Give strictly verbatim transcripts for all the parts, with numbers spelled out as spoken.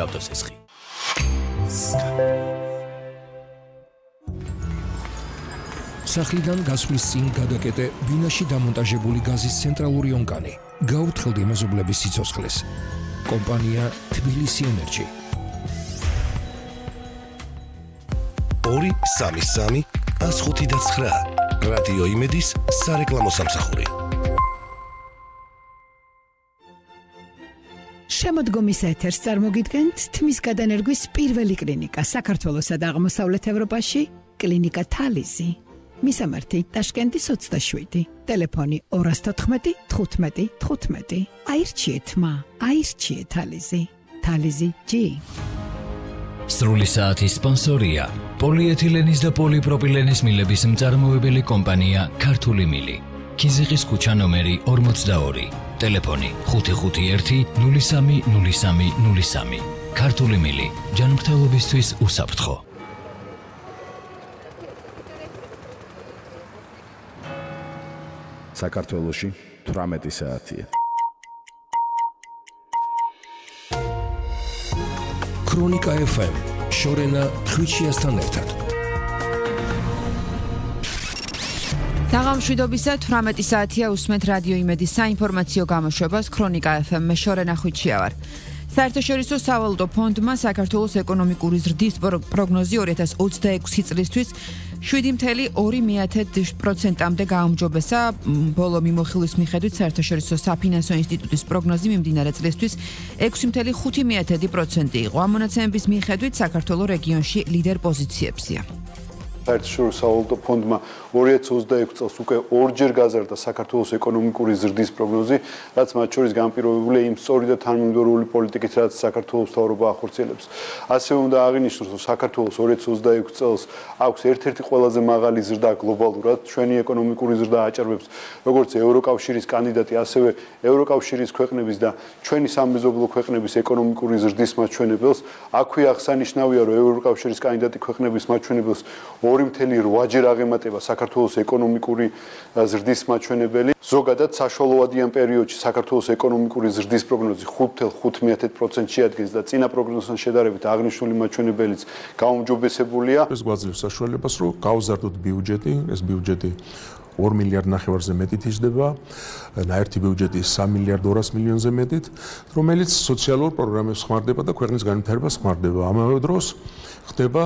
ავტოცესხი. სახლიდან გასვლის წინ გადაკეტე ბინაში დამონტაჟებული გაზის ცენტრალური ონკანი. გაუთხელდი მეზობლების სიცოცხლეს. კომპანია თბილისი ენერჯი. ორი სამი სამი ას ხუთი და ცხრა რადიო იმედის სარეკლამო სამსახური. შემოდგომის ეთერს წარმოგიდგენთ თმის გადანერგვის პირველი კლინიკა საქართველოსა და აღმოსავლეთ ევროპაში, კლინიკა თალიზი. მისამართი ტაშკენტის ოცდაშვიდი, ტელეფონი ორას თოთხმეტი თხუთმეტი თხუთმეტი. აირჩიეთ მა, აირჩიეთ თალიზი. თალიზი ჯი. სრული საათის სპონსორია პოლიეთილენის და პოლიპროპილენის მილების მწარმოებელი კომპანია ქართული მილი. ქიზიყის ქუჩა ნომერი ორმოცდაორი. ტელეფონი ხუთი ხუთი ერთი ნული სამი ნული სამი ნული სამი. ქართული მილი ჯანმრთელობისთვის უსაფრთხო. საქართველოში თვრამეტი საათია. ქრონიკა ეფ ემ შორენა ხვიჩიასთან ერთად. დაღამშვიდობისა თვრამეტი საათია უსმენთ რადიო იმედის საინფორმაციო გამოშვებას ქრონიკა ეფ ემ-ში შორენა ხვიჩია ვარ. საერთაშორისო სავალუტო ფონდმა საქართველოს ეკონომიკური ზრდის პროგნოზი ორი ათას ოცდაექვსი წლისთვის შვიდი წელი ორი პროცენტამდე გააუმჯობესა. ბოლო მიმოხილვის მიხედვით საერთაშორისო საფინანსო ინსტიტუტის პროგნოზი მიმდინარე წლისთვის ექვსი წელი ხუთი პროცენტი იყო. ამ მონაცემების მიხედვით საქართველოს რეგიონში ლიდერ პოზიციებზეა. საერთაშორისო სავალუტო ფონდმა ორი ათას ოცდაექვსი წელს უკვე ორჯერ გაზარდა საქართველოს ეკონომიკური ზრდის პროგნოზი, რაც მათ შორის განპირობებულია იმ სწორი და თანმიმდევრული პოლიტიკით, რაც საქართველოს მთავრობა ახორციელებს. ასევე უნდა აღინიშნოს, რომ საქართველოს ორი ათას ოცდაექვსი წელს აქვს ერთ-ერთი ყველაზე მაღალი ზრდა გლობალურად, ჩვენი ეკონომიკური ზრდა აჭარბებს როგორც ევროკავშირის კანდიდატი, ასევე ევროკავშირის ქვეყნების და ჩვენი სამეზობლო ქვეყნების ეკონომიკური ზრდის მაჩვენებელს. აქვე აღსანიშნავია, რომ ევროკავშირის კანდიდატი ქვეყნების მაჩვენებელს ორი წელი რვაჯერ აღემატება საქართველოს ეკონომიკური ზრდის მაჩვენებელი. ზოგადად საშუალოადიან პერიოდში საქართველოს ეკონომიკური ზრდის პროგნოზი ხუთ წელს ხუთი პროცენტს შეადგენს და წინა პროგნოზთან შედარებით აღნიშნული მაჩვენებელიც გაუმჯობესებულია. ეს გვაძლევს საშუალებას, რომ გავზარდოთ ბიუჯეტი, ეს ბიუჯეტი ორ მილიარდ ნახევარზე მეტით იზრდება, ნაერთი ბიუჯეტი სამი მილიარდ ორას მილიონზე მეტით, რომელიც სოციალურ პროგრამებს ხმარდება და ქვეყნის განვითარებას ხმარდება. ამავე დროს ხდება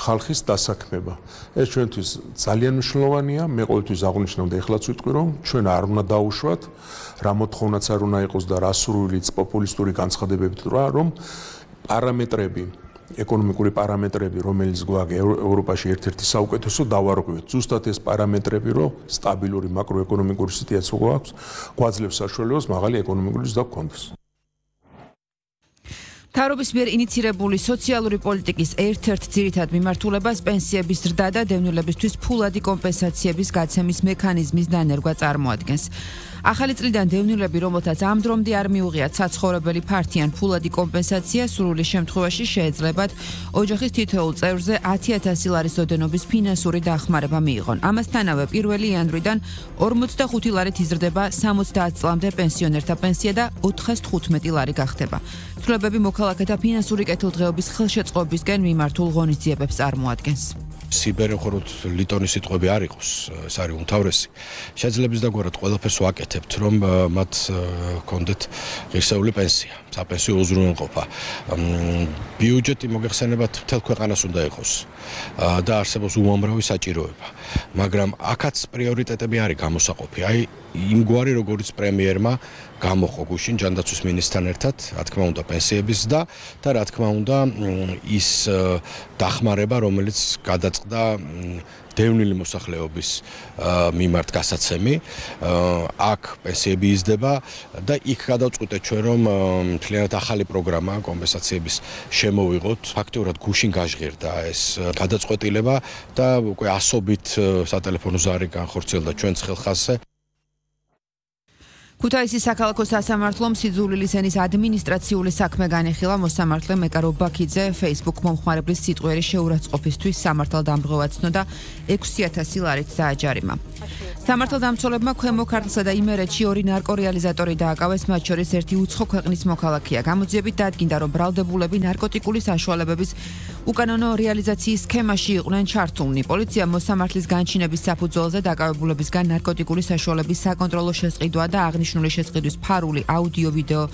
ხალხის დასაქმება. ეს ჩვენთვის ძალიან მნიშვნელოვანია. მე ყოველთვის აღვნიშნავდი, ეხლაც ვიტყვი, რომ ჩვენ არ უნდა დაუშვათ, რა მოთხოვნაც არ უნდა იყოს და რა სურვილიც პოპულისტური განცხადებებით რა, რომ პარამეტრები, ეკონომიკური პარამეტრები, რომელიც გვაქვს ევროპაში ერთ-ერთი საუკეთესო დავარღვევთ. ზუსტად ეს პარამეტრები, რომ სტაბილური მაკროეკონომიკური სიტუაცია გვაქვს, გვაძლევს საშუალებას მაღალი ეკონომიკური ზრდა გქონდეს. მთავრობის მიერ ინიცირებული სოციალური პოლიტიკის ერთ-ერთ ძირითად მიმართულებას პენსიების ზრდა და დევნილებისთვის ფულადი კომპენსაციების გაცემის მექანიზმის დანერგვა წარმოადგენს. ახალი წლიდან დევნილები, რომელთაც ამ დრომდე არ მიუღიათ საცხოვრებელი ფართი ან ფულადი კომპენსაცია, სრული შემთხვევაში შეეძლებათ ოჯახის თითოეულ წევრზე ათი ათასი ლარის ოდენობის ფინანსური დახმარება მიიღონ. ამასთანავე პირველი იანვრიდან ორმოცდახუთი ლარით იზრდება სამოცდაათ წლამდე პენსიონერთა პენსია და ოთხას თხუთმეტი ლარი გახდება. ცვლილებები მოქალაქეთა ფინანსური კეთილდღეობის ხელშეწყობისკენ მიმართულ ღონისძიებებს წარმოადგენს. სიბერეხოროთ ლიტონის სიტყვები არ იყოს, ეს არის უმთავრესი. შეძლებს დაგვარად ყველაფერს ვაკეთებთ, რომ მათ კონდეთ ღირსეული პენსია, საპენსიო უზრუნველყოფა. ბიუჯეტი მოგეხსენებათ მთელ ქვეყანას უნდა იყოს და არსებობს უამრავი საჭიროება. მაგრამ აქაც პრიორიტეტები არის გამოსაყოფი. აი იმგვარი როგორც პრემიერმა გამოხო გუშინ ჯანდაცვის მინისტრთან ერთად, რა თქმა უნდა პენსიების ზრდა და რა თქმა უნდა ის დახმარება, რომელიც გადაწყდა დევნილი მოსახლეობის მიმართ გასაცემი, აქ პენსიები იზრდება და იქ გადავწყვიტეთ ჩვენ, რომ მთლიანად ახალი პროგრამა კომპენსაციების შემოვიღოთ. ფაქტიურად გუშინ გაჟღერდა ეს გადაწყვეტილება და უკვე ასობით სატელეფონო ზარი განხორციელდა ჩვენს ხელხასზე. ქუთაისის საქალაქო სასამართლომ სიძულვილის ენის ადმინისტრაციული საქმე განიხილა. მოსამართლე მეკარო ბაქიძე Facebook მომხმარებლის სიტყვიერი შეურაცხყოფისთვის სამართალდამცავად ცნოდა ექვსი ათასი ლარით დააჯარიმა. სამართალდამცველებმა ქვემო ქართლსა და იმერეთში ორი ნარკორეალიზატორი დააკავეს, მათ შორის ერთი უცხო ქვეყნის მოქალაქეა. გამოძიებით დადგინდა, რომ ბრალდებულები ნარკოტიკული საშუალებების უკანონო რეალიზაციის სქემაში იყვნენ ჩართულნი. პოლიციამ მოსამართლის განჩინების საფუძველზე დაკავებულებისგან ნარკოტიკული საშუალების საკონტროლო შესყიდვა და აღნიშნული შესყიდვის ფარული აუდიო-ვიდეო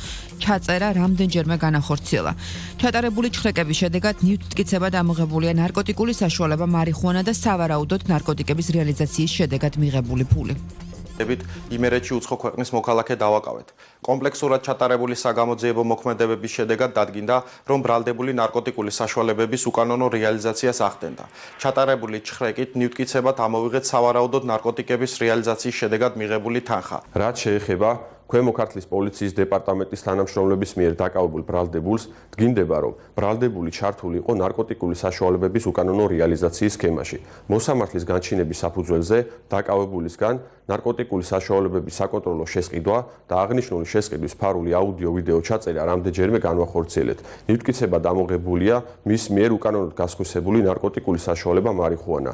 ჩაწერა რამდენჯერმე განახორციელა. ჩატარებული ჩხრეკების შედეგად ნივთმტკიცებად ამოღებულია ნარკოტიკული საშუალება მარიხუანა და სავარაუდოდ ნარკოტიკების რეალიზაციის შედეგად მიღებული ფული. იმერეთში უცხო ქვეყნის მოქალაქე დავაკავეთ. კომპლექსურად ჩატარებული საგამოძიებო მოქმედებების შედეგად დადგინდა, რომ ბრალდებული ნარკოტიკული საშუალებების უკანონო რეალიზაციას ახდენდა. ჩატარებული ჩხრეკით ნივთმტკიცებად ამოვიღეთ სავარაუდოდ ნარკოტიკების რეალიზაციის შედეგად მიღებული თანხა. რაც შეეხება ქვემო ქართლის პოლიციის დეპარტამენტის თანამშრომლების მიერ დაკავებულ ბრალდებულს, დგინდება, რომ ბრალდებული ჩართული იყო ნარკოტიკული საშუალებების უკანონო რეალიზაციის სქემაში. მოსამართლის განჩინების საფუძველზე დაკავებულისგან ნარკოტიკული საშუალებების საკონტროლო შესყიდვა და აღნიშნული შესყიდვის ფარული აუდიო-ვიდეო ჩაწერა რამდენჯერმე განვახორციელეთ. ნივთმტკიცებად ამოღებულია მის მიერ უკანონოდ გასხვისებული ნარკოტიკული საშუალება მარიხუანა.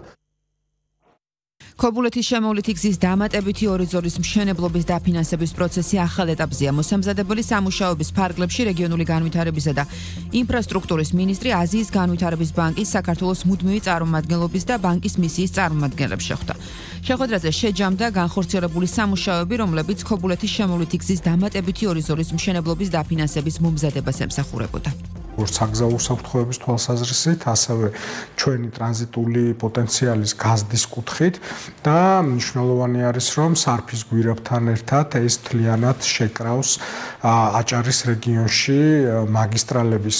ქობულეთის შემოვლითი გზის დამატებითი ორი ზოლის მშენებლობის დაფინანსების პროცესი ახალ ეტაპზეა. მოსამზადებელი სამუშაოების ფარგლებში რეგიონული განვითარებისა და ინფრასტრუქტურის მინისტრი აზიის განვითარების ბანკის, საქართველოს მუდმივი წარმომადგენლობის და ბანკის მისიის წარმომადგენლებს შეხვდა. შეხვედრაზე შეჯამდა განხორციელებული სამუშაოები, რომლებიც ქობულეთის შემოვლითი გზის დამატებითი ორი ზოლის მშენებლობის დაფინანსების მომზადებას ემსახურებოდა. როგორც საგზაო უსაფრთხოების თვალსაზრისით, ასევე ჩვენი ტრანზიტული პოტენციალის გაზდის კუთხით და მნიშვნელოვანი არის, რომ სარფის გვირაბთან ერთად ეს მთლიანად შეკრავს აჭარის რეგიონში მაგისტრალების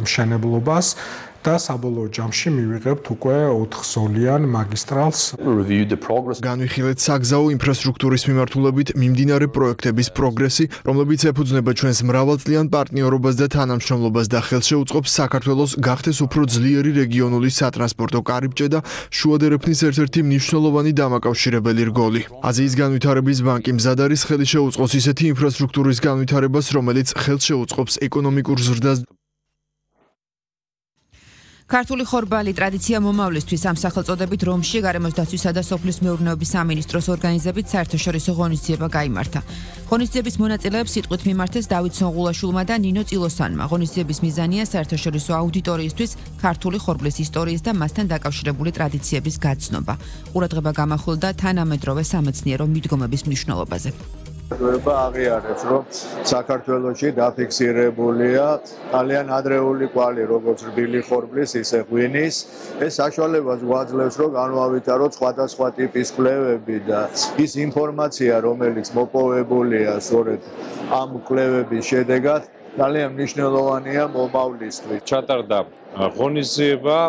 მშენებლობას და საბოლოო ჯამში მივიღებთ უკვე ოთხზოლიან მაგისტრალს. განვიხილეთ საგზაო ინფრასტრუქტურის მიმართულებით მიმდინარე პროექტების პროგრესი, რომლებიც ეფუძნება ჩვენს მრავალწლიან პარტნიორობას და თანამშრომლობას და ხელს შეუწყობს საქართველოს გახდეს უფრო ძლიერი რეგიონული სატრანსპორტო კარიბჭე და შუადერეფნის ერთ-ერთი მნიშვნელოვანი დამაკავშირებელი რგოლი. აზიის განვითარების ბანკი მზად არის ხელი შეუწყოს ისეთი ინფრასტრუქტურის განვითარებას, რომელიც ხელს შეუწყობს ეკონომიკურ ზრდას. ქართული ხორბალი ტრადიცია მომავლისთვის ამ სახელწოდებით რომში გარემოს დაცვისა და სოფლის მეურნეობის სამინისტროს ორგანიზებით საერთაშორისო ღონისძიება გაიმართა. ღონისძიების მონაწილეებს სიტყვით მიმართეს დავით სონღულაშვილმა და ნინო წილოსანმა. ღონისძიების მიზანია საერთაშორისო აუდიტორიისთვის ქართული ხორბლის ისტორიის და მასთან დაკავშირებული ტრადიციების გაცნობა. ყურადღება გამახვილდა თანამედროვე სამეცნიერო მიდგომების მნიშვნელობაზე. აღიარებს, რომ საქართველოში დაფიქსირებულია ძალიან ადრეული კვალი, როგორც რბილი ხორბლის, ისე ღვინის. ეს საშუალებას გვაძლევს, რომ განვავითაროთ სხვადასხვა ტიპის კვლევები და ის ინფორმაცია, რომელიც მოპოვებულია სწორედ ამ კვლევების შედეგად, ძალიან მნიშვნელოვანია მომავლისთვის. ჩატარდა ღონისძიება,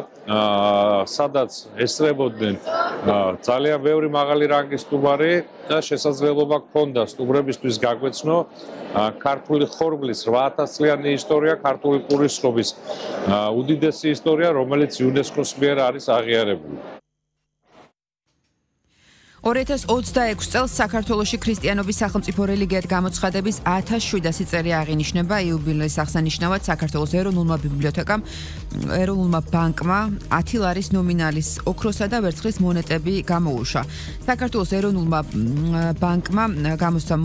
სადაც ესწრებოდნენ ძალიან ბევრი მაღალი რანგის სტუმარი და შესაძლებლობა ჰქონდა სტუმრებისთვის გაგვეცნო ქართული ხორბლის რვა ათას წლიანი ისტორია, ქართული პურის ხობის უდიდესი ისტორია, რომელიც იუნესკოს მიერ არის აღიარებული. ორი ათას ოცდაექვსი წელს საქართველოში ქრისტიანობის სახელმწიფო რელიგიად გამოცხადების ათას შვიდასი წელი აღინიშნება. იუბილეის აღსანიშნავად საქართველოს ეროვნულმა ბიბლიოთეკამ, ეროვნულმა ბანკმა ათი ლარის ნომინალის ოქროსა და ვერცხლის მონეტები გამოუშვა. საქართველოს ეროვნულმა ბანკმა გამოსცა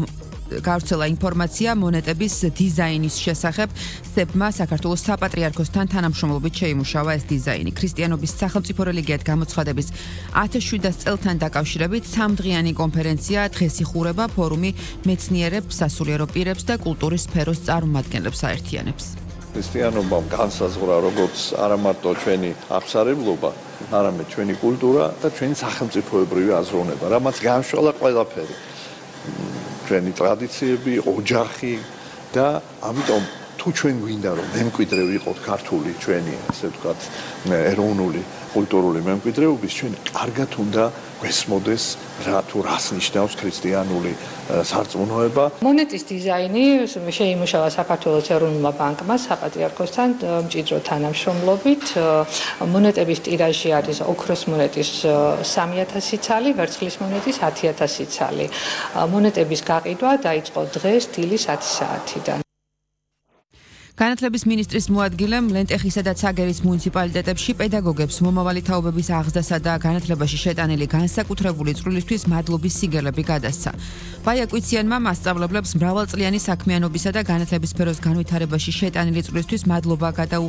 გავრცელა ინფორმაცია მონეტების დიზაინის შესახებ. სებმა საქართველოს საპატრიარქოსთან თანამშრომლობით შეიმუშავა ეს დიზაინი. ქრისტიანობის სახელმწიფო რელიგიად გამოცხადების ათას შვიდასი წელთან დაკავშირებით სამდღიანი კონფერენცია დღეს იხურება. ფორუმი მეცნიერებს, სასულიერო პირებს და კულტურის სფეროს წარმომადგენლებს აერთიანებს. ქრისტიანობამ განსაზღვრა როგორც არა მარტო ჩვენი აბსარებლობა, არამედ ჩვენი კულტურა და ჩვენი სახელმწიფოებრივი აზროვნება, რამაც განშვალა ყველაფერი. ჩვენი ტრადიციები, ოჯახი და ამიტომ თუ ჩვენ გვინდა რომ მემკვიდრე ვიყოთ ქართული ჩვენი, ასე ვთქვათ, ეროვნული კულტურული მემკვიდრეობის, ჩვენ კარგად უნდა გვესმოდეს რა თუ რას ნიშნავს ქრისტიანული სარწმუნოება. მონეტის დიზაინი შეიმუშავა საქართველოს ეროვნულმა ბანკმა საპატრიარქოსთან მჭიდრო თანამშრომლობით. მონეტების ტირაჟი არის ოქროს მონეტის სამი ათასი ცალი, ვერცხლის მონეტის ათი ათასი ცალი. მონეტების გაყიდვა დაიწყო დღეს დილის ათი საათიდან. განათლების მინისტრის მოადგილემ ლენტეხისა და ცაგერის მუნიციპალიტეტებში პედაგოგებს მომავალი თაობების აღზრდასა და განათლებაში შეტანილი განსაკუთრებული წვლილისთვის მადლობის სიგელები გადასცა. ბაია კვიციანმა მასწავლებლებს მრავალწლიანი საქმიანობისა და განათლების სფეროს განვითარებაში შეტანილი წვლილისთვის მადლობა გადაუხადა.